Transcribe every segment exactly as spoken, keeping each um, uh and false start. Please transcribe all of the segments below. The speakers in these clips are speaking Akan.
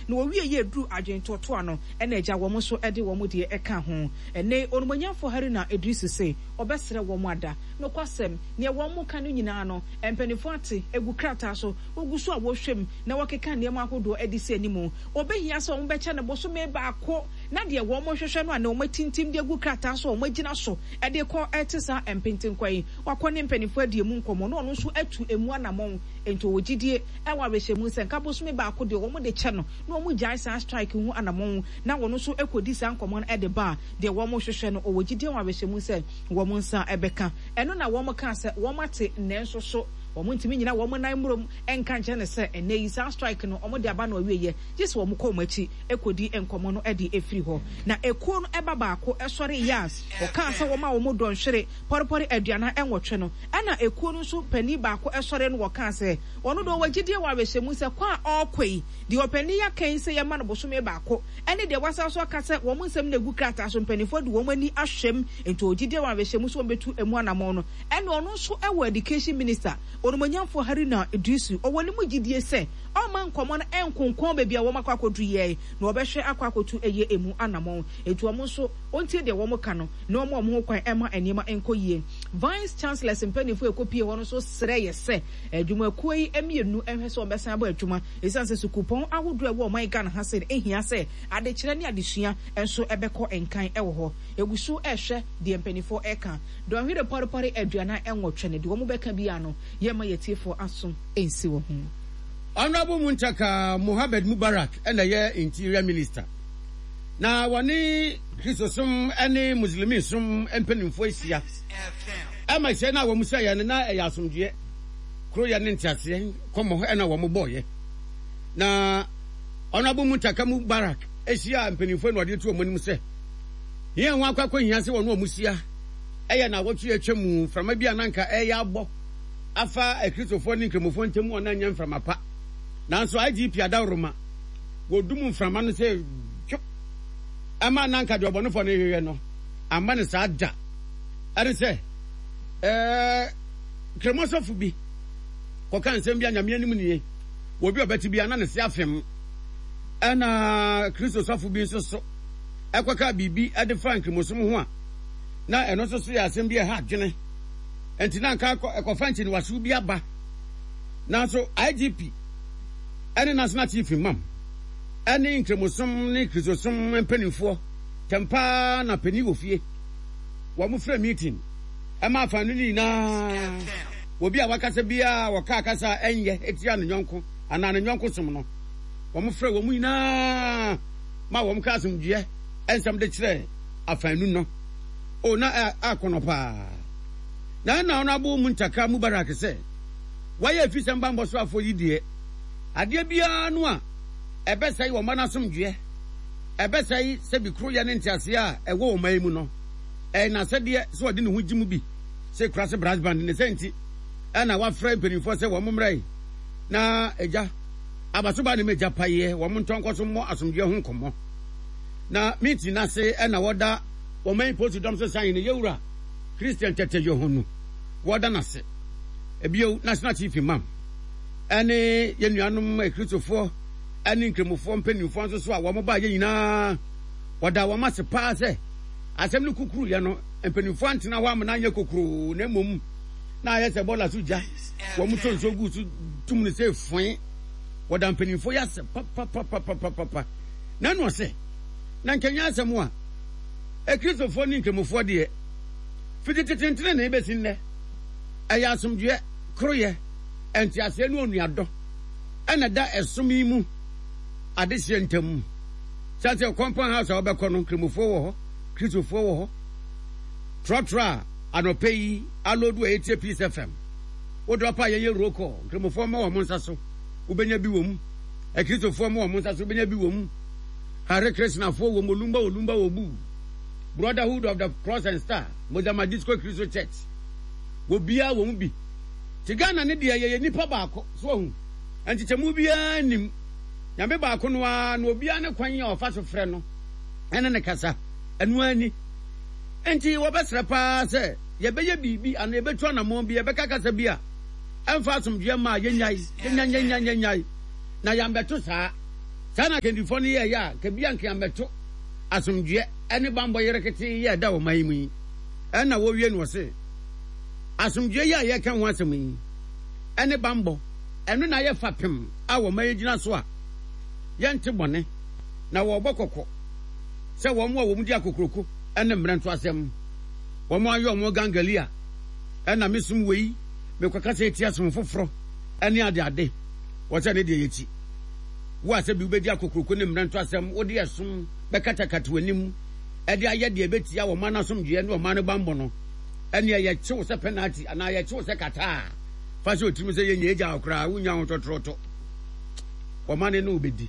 Na wɔwie yɛ duru adwentotoa no, ɛna agya wɔn nso de wɔn deɛ ɛka ho. Ɛnɛ Onumonyamfo Haruna Iddrisu se ɔbɛsrɛ wɔn ada. Nokwasɛm, nea wɔn mo ka no nyinaa no, mpanimfoɔ ate egu krataa so, wogu so a wɔhwɛ mu na wɔkeka nneɛma ahodoɔ de si anim. Wɔbɛhia sɛ wɔn bɛkyɛ no bosome baako na deɛ wɔn hwehwɛ no a na wɔn atintim de agu krataa so a wɔn agyina so de kɔ te saa mpentenkwa yi. Wakɔ ne mpanimfoɔ adi emu nkɔmmɔ na ɔno nso atu emu anammɔn. Nti ɔwɔ gyidie ɛwɔ awerɛhyɛmu sɛ nka bosome baako deɛ wɔn de kyɛ no na wɔn gyae saa strike ho anammɔn na wɔn nso kɔdi saa nkɔmmɔ no de ba a, deɛ wɔn hwehwɛ no ɔwɔ gyidie wɔ awerɛhyɛmu sɛ wɔn nsa bɛka. Ɛno na wɔn kaa sɛ wɔn ate, nanso so wɔn ntumi nyina wɔn nan mmurom nka nkyerɛ no sɛ ɛnɛ yi saa strike no wɔn de aba no awieɛ, gye sɛ wɔn kɔ wɔn akyi kɔdi nkɔmmɔ no de efiri hɔ. Na ekuo no ɛba baako ɛsɔre yɛ a ɔkaa sɛ wɔn a wɔn dɔnhwere pɔrepɔre aduanan nwɔtwe no, ɛna ekuo no nso panin baako ɛsɔre no wɔkaa sɛ ɔno deɛ ɔwɔ gyidie wɔ awerɛhyɛmu sɛ kɔ a ɔrekɔ yi, deɛ ɔpanin yi aka yi sɛ yɛma no bosome baako, ɛne deɛ wasan so aka sɛ wɔn nsɛm na egu krataa so mpanimfoɔ de wɔn ani ahwɛm, nti ɔwɔ gyidie wɔ awerɛhyɛmu sɛ wɔn bɛtu emu anammɔn no. Ɛna ɔno nso ɛwɔ Education Minister Onumonyamfoɔ Haruna Iddrisu, ɔwɔ ne mu gyidie sɛ ɔma nkɔmmɔ no ɛnkonkɔn baabi a wɔn akɔ akɔdu yɛ na wɔbɛhwɛ akɔ akɔtu ɛyɛ emu anammɔn. Nti wɔn nso ɔntie deɛ wɔn ka no na wɔn a wɔn ho kwan ɛma nneɛma nkɔ yie. Vice Chancellors mpanimfoɔ ɛkɔpie hɔ no nso srɛ yɛ sɛ adwumakuo yi mmienu nhwɛ sɛ wɔbɛsan abɔ adwuma, ɛsiane sɛ sukuupɔn ahodoɔ a ɛwɔ ɔman Ghana ha sɛ ɛhia sɛ adekyerɛ ne adesua nso ɛbɛkɔ nkan ɛwɔ hɔ. Egu so ɛhwɛ deɛ mpanimfoɔ ɛka. Dɔnhwere pɔrepɔre aduanan nwɔtwe no, deɛ wɔn bɛka biara no, yɛma yɛtiefoɔ aso nsi wɔ ho. Honorable Muntaka Mohammed Mubarak ɛna ɛyɛ Interior Minister, na wɔne Kristosom ne Muslimi som mpanimfoɔ ahyia ɛma hyɛ no a wɔn hyɛeɛ no na ɛyɛ asomdwoeɛ, koroyɛ ne nteaseɛ nkɔmmɔ ɛna wɔn bɔɔyɛ. Na Honorable Muntaka Mubarak ahyia mpanimfoɔ na ɔde to wɔn anim sɛ yɛn ho akɔ akɔhia sɛ wɔn a wɔn hyia ɛyɛ na awɔtwe atwa mu mframa bi a nanka ɛyɛ abɔ afa Akristofoɔ ne Nkramofoɔ ntam a na nyɛ mframa pa, nanso I G P adaworoma wɔdum mframa no sɛ twop ɛma nanka deɛ ɔbɔnefoɔ no hwehwɛ no amma no saa da. Ɛne sɛ ɛɛ Kramosɔfo bi kɔka nsɛm bi a Nyame anim nie, obi a ɔbɛte bi a na ne se afem, ɛna Kristo sɔfo bi nso so ɛkɔka biribi ɛde fa nkramosom ho a na ɛno nso so yɛ asɛm bi a ɛha adwene, nti na nka ɛkɔfa nkyiniwasew bi aba. Nanso I G P ɛne National Chief Imam ɛne nkramosom ne Kristosom mpanimfoɔ tɛmpaa na panin wɔ fie wɔn frɛ meeting ɛma afa no nyinaa, obi a wakasa biara wɔka kasa ɛnyɛ etia ne nyɔnko anaa ne nyɔnko som no, wɔn frɛ wɔn nyinaa ma wɔn ka asomdwoeɛ nsɛm de kyerɛ afanu no o na akɔnɔ paa. Na ɛna ɔno abo Muntaka Mubarak sɛ wayɛ efisɛm bambɔ so afɔ yi deɛ, adeɛ biara no a ɛbɛsɛe wɔn mma no asomdwoeɛ, ɛbɛsɛe sɛbi koroyɛ ne nteaseɛ a ɛwɔ wɔn man mu no, ɛyɛ n'asɛdeɛ sɛ ɔde ne ho gye mu bi sɛ Kurase Brass Band ne sɛ. Nti ɛna wafrɛ mpanimfoɔ sɛ wɔn mmerɛ yi na agya abasoba ne magya payɛ wɔn ntɔnkɔ so mmɔ asomdwoeɛ ho nkɔmmɔ. Na meeting n'ase ɛna wɔda wɔn man polisi dɔm so san ne yɛwura Christian Tɛtɛ Yohonu, wɔda n'ase. Ebio, National Chief Imam ɛne yɛn nuanom Akristofoɔ ɛne Nkramofoɔ mpanimfoɔ nso so a wɔn baa yɛn nyinaa, wɔda wɔn ase paa sɛ asɛm no kukuru yɛ no, mpanimfoɔ antena hɔ amena anyɛ kokuroo, na mmom na ayɛ sɛ bɔɔla so gya, wɔn to nsuo gu so tum no sɛ foe. Wɔda mpanimfoɔ yi ase papapapapapa. Na ɛna ɔsɛ na nkɛnyɛ asɛm a Akristofoɔ ne Nkramofoɔ deɛ, fiti tetentene na ebɛsi nnɛ, ɛyɛ asomdwoeɛ, koroyɛ, nteaseɛ ne onuadɔ ɛna da ɛsom yi mu adehyeɛ ntam. Sɛ sɛ compound house a wɔbɛkɔ no, Nkramofoɔ wɔ hɔ, Kristofoɔ wɔ hɔ. Trɔtrɔ a anɔpɛ yi aloodu a yɛtie Peace F M, wode ɔpa a yɛyɛ roll call, Nkramofoɔ ma wɔn nsa so, wobɛnya bi wɔ mu. Akristofoɔ ma wɔn nsa so, wobɛnya bi wɔ mu. Hare Krishnafoɔ wɔ mu, Olumba Olumba wɔ bu, Brotherhood of the Cross and Star, Mozama Disco Kristo Church wɔ biara wɔ mu bi. Te Ghana ne deɛ, yɛyɛ nipa baako so ahu nkyekyɛmu biara nim Nyame baako no ara na obiara ne kwan a ɔfa so frɛ no ɛne ne kasa ɛno ani. Nti wɔbɛsrɛ paa sɛ yɛbɛyɛ biribi anaa yɛbɛtu anammɔn bi, yɛbɛka kasa bi a ɛmfa asomdwoeɛ ma a, yɛnyae, yɛnya yɛnya yɛnyae na yɛambɛto saa. Saa na akandifoɔ no yɛeɛ a, nka bi anka ammɛto asomdwoeɛ ne bammɔ yereketee yi a ɛda ɔman yi mu yi. Ɛnna wɔwie no ɔse, Asomdwoeɛ yi a yɛreka ho asɛm yi ne bammɔ, ɛno na ayɛ fapem a ɔman yi gyina so a yɛnte bɔne, na wɔrebɔ kɔkɔ sɛ wɔn a wɔdi akokuroko ne mmerɛnto asɛm, wɔn ayɛ wɔn gangalia, ɛna mesom wei, mekɔkasa atia som foforɔ ne adeade, wɔsɛ ne deɛ yɛkyi. Wo a sɛbi wobɛdi akokuroko ne mmerɛnto asɛm, wode ɛsom bɛkatakata w'anim de ayɛ deɛ ɛbɛtia ɔman no asomdwoeɛ ne ɔman no bammɔ no, ɛnneɛ yɛkye wo sɛ pɛnati anaa yɛkye wo sɛ kataa. Fa hyɛ wo tirim sɛ yɛnyɛ agya wo koraa, wonnya ho tɔtorɔtɔ. Ɔman no ne wo bɛdi.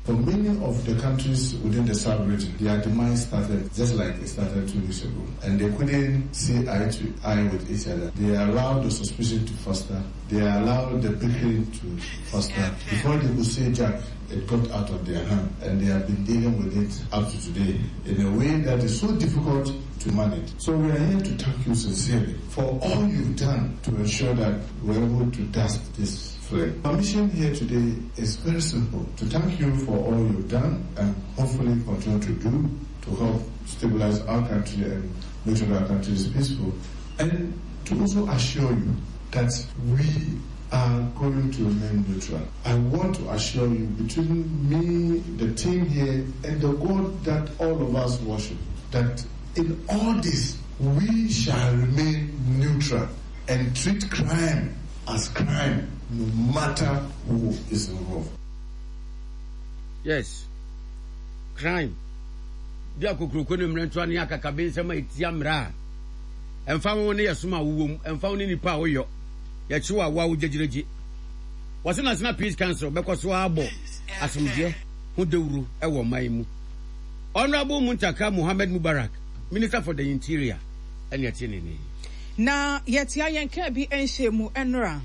For many of the countries within the sub-region, their demise started just like it started two weeks ago. And they couldn't see eye to eye with each other. They allowed the suspicion to foster. They allowed the bickering to foster. Before they could say Jack, it got out of their hand. And they have been dealing with it up to today in a way that is so difficult to manage. So we are here to thank you sincerely for all you've done to ensure that we're able to dust this flame. Our mission here today is very simple, to thank you for all you've done and hopefully continue to do to help stabilize our country and make sure that our country is peaceful, and to also assure you that we are going to remain neutral. I want to assure you, between me, the team here, and the God that all of us worship, that in all this, we shall remain neutral and treat crime as crime, no matter who is involved. Yes, crime. Di akokuroko ne mmerɛntoa ne akakabensɛm a ɛtia mmara a ɛmfa ho ne yɛsom a wowɔ mu, ɛmfa ho ne nipa a woyɔ, yɛkye wo a woa wo gyegyiregye. Wɔse National Peace Council bɛkɔ so abɔ asomdwoeɛ ho dawuro wɔ ɔman mu. Honourable Muntaka Mohammed Mubarak, Minister for the Interior, ɛne ɛte ne nne. Na yɛtea yɛn kaa bi nhyɛɛ mu nnora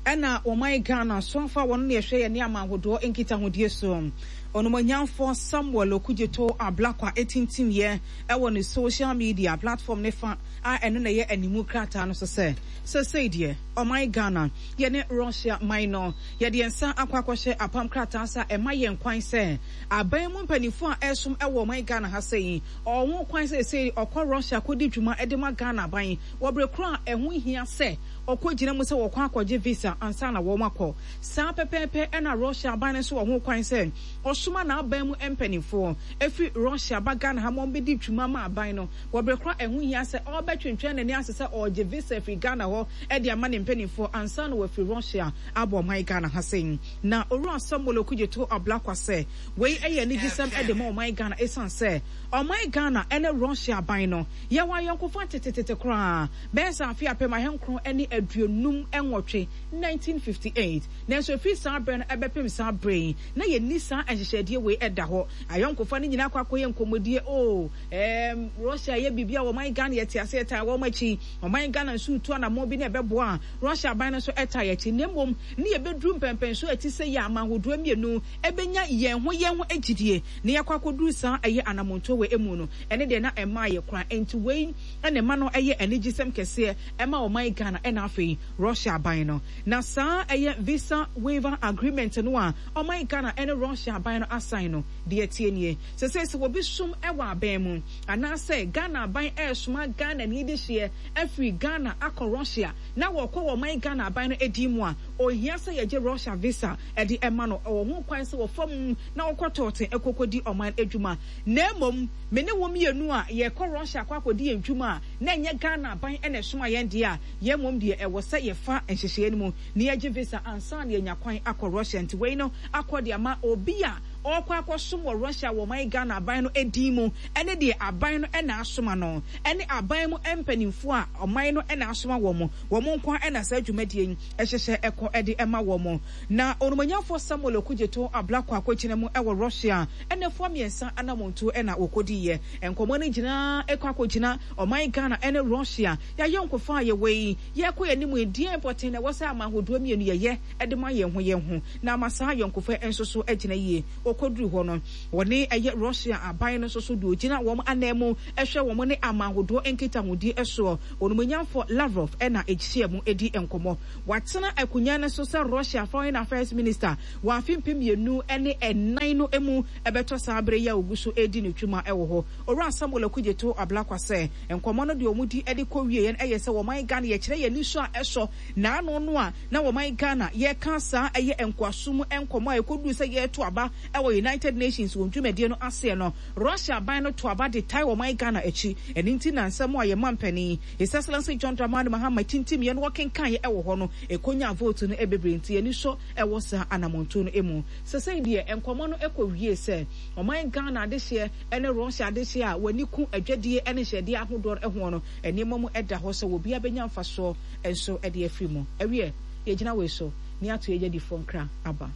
ɛna ɔman Ghana soafo a wɔno na ɛhwɛ yɛne aman ahodoɔ nkitahodie so Onumonyamfoɔ Samuel Okudzeto Ablakwa ɛtintimyɛ ɛwɔ ne social media platform ne fa a ɛno na ɛyɛ animu krataa no so sɛ sɛsɛi deɛ ɔman Ghana yɛne Russia man no yɛde yɛn nsa akɔ akɔhyɛ apam krataa sa ɛma yɛn kwan sɛ aban mu mpanimfoɔ a ɛsom ɛwɔ ɔman Ghana ha sɛ ɔwɔ ho kwan sɛ sɛ ɔkɔ Russia kɔdi dwuma de ma Ghana aban wɔ bere koro a ɛho hia sɛ ɔkɔgyina mu sɛ wɔkɔ akɔgye visa ansa na wɔn akɔ. Saa pɛpɛɛpɛ ɛna Russia aban no nso wɔ ho kwan sɛ ɔsoma n'aban mu mpanimfoɔ ɛfiri Russia ba Ghana ha ma wɔbɛdi dwuma ma aban no wɔ bere koro a ɛho hia sɛ ɔrebɛtwentwɛn n'ani ase sɛ ɔregye visa afiri Ghana hɔ de ama ne mpanimfoɔ ansa na wɔafiri Russia abɔ ɔman Ghana ha sɛn. Na Owura Samuel Okudzeto Ablakwa sɛ wei yɛ anigyesɛm de ma ɔman Ghana ɛsiane sɛ ɔman Ghana ne Russia aban no yɛwɔ ayɔnkofa tetetete koraa bɛyɛ sɛ afe apem ahenkron ne aduonum nwɔtwe, nineteen fifty-eight. Nanso ɛfiri saa berɛ no ɛbɛpem saa berɛ yi na yɛnni saa nhyehyɛdeɛ wei ɛda hɔ. Ayɔnkofa no nyinaa kɔ akɔyɛ nkɔmmɔdie, oh, um, Russia yɛ biribi a ɔman Ghana yɛte ase yɛtaa wɔn akyi. Ɔman Ghana nso retu anammɔn bi na ɛbɛboa a Russia aban no nso ɛtaa yɛn akyi. Na mmom ne yɛbɛduru mpɛmpɛnsoɔ a ɛte sɛ yɛ aman ahodoɔ mmienu ɛbɛnya yɛn ho yɛn ho gyidie na yɛakɔ akɔduru saa ɛyɛ anammɔntuo wei mu no, ɛne deɛ na ɛmaa yɛ koraa. Enti wei ɛna ɛma no ɛyɛ anigyesɛm kɛseɛ ɛma ɔman Ghana ɛna afei Russia aban no. Na saa ɛyɛ visa waiver agreement no a ɔman Ghana ɛne Russia aban no asan no, deɛ ɛteɛ nie. Sɛ sɛ sɛ obi som ɛwɔ aban mu anaasɛ Ghana aban ɛresoma Ghana ni de hyeɛ afiri Ghana akɔ Russia na wɔkɔ wɔ ɔman Ghana aban no edi mu a, ohia sɛ yɛgye Russia visa ɛde ɛma no. Ɛwɔ ho kwan sɛ wɔfa mu na wɔkɔ tɔɔte ɛkɔkɔdi ɔman adwuma. Na mmom, me ne wo mmienu a yɛkɔ Russia akɔ akɔdi yɛn dwuma a, na ɛnyɛ Ghana aban ɛna ɛsoma yɛn deɛ a, yɛn mmom deɛ ɛwɔ sɛ yɛfa nhyehyɛeɛ no mu na yɛgye visa ansa na yɛnya kwan akɔ Russia. Nti wei no akɔ de ama obi a ɔrekɔ akɔsom wɔ Russia wɔ ɔman Ghana aban no edin mu ɛne deɛ aban no ɛna asoma no ɛne aban mu mpanimfoɔ a ɔman no ɛna asoma wɔn, wɔn nko ɛna saa dwumadie yi ɛhyehyɛ ɛkɔ ɛde ɛma wɔn. Na onumonyamfoɔ Samuel Okudzeto Ablakwa akɔgyina mu ɛwɔ Russia ɛnɛfoɔ mmiɛnsa anamontuo ɛna wɔkɔdiiɛ. Nkɔmmɔ no nyinaa ɛkɔ akɔgyina ɔman Ghana ɛne Russia yɛayɛ nkofa a yɛwɔ yi, yɛkɔ yɛn anim yi, deɛ pɔtee na ɛwɔ sɛ aman ahodoɔ mmienu yɛyɛ ɛde ma yɛn ho yɛn ho na ama saa ayɔnkofa nso so agyina yie. Wɔkɔduru hɔ no, wɔne ɛyɛ Russia aban no nso so deɛ ogyina wɔn anan mu hwɛ wɔn ne aman ahodoɔ nkitahodie soɔ, Onimuonyamfoɔ Lavrov, na ɛhyia mu di nkɔmmɔ. Watena akonnwa no so sɛ Russia Foreign Affairs Minister wɔ afe mpem mmienu ne nnan no mu bɛtɔ saa bere yi a ogu so redi ne dwuma wɔ hɔ. Owura Samuel Okudzeto Ablakwa sɛ nkɔmmɔ no deɛ wɔdi de kɔ wieɛ no yɛ sɛ wɔman Ghana yɛkyerɛ yɛn anisɔ a ɛsɔ n'ano no a na wɔman Ghana yɛka saa ɛyɛ nkoasom nkɔmmɔ a ɛkɔduru sɛ yɛreto aba wɔ United Nations wɔn dwumadie no aseɛ no, Russia aban no to aba de tae ɔman Ghana akyi. Ɛno nti na nsɛm a yɛn mampanin, His Excellency John Dramani Mahama tintimiiɛ na wɔkenkaeɛ wɔ hɔ no, ɛkɔnyaa vote no bebree nti yɛn ani sɔ wɔ saa anammɔntuo no mu. Sesei deɛ nkɔmmɔ no kɔwiee sɛ ɔman Ghana adehyeɛ ne Russia adehyeɛ a wɔn ani ku adwadie ne nhyɛdeɛ ahodoɔ hoɔ no, nneɛma mu da hɔ sɛ obiara bɛnya mfasoɔ nso de afiri mu. Ɛwiɛ, yɛgyina wei so na yɛato yɛn adwadifoɔ nkra aba.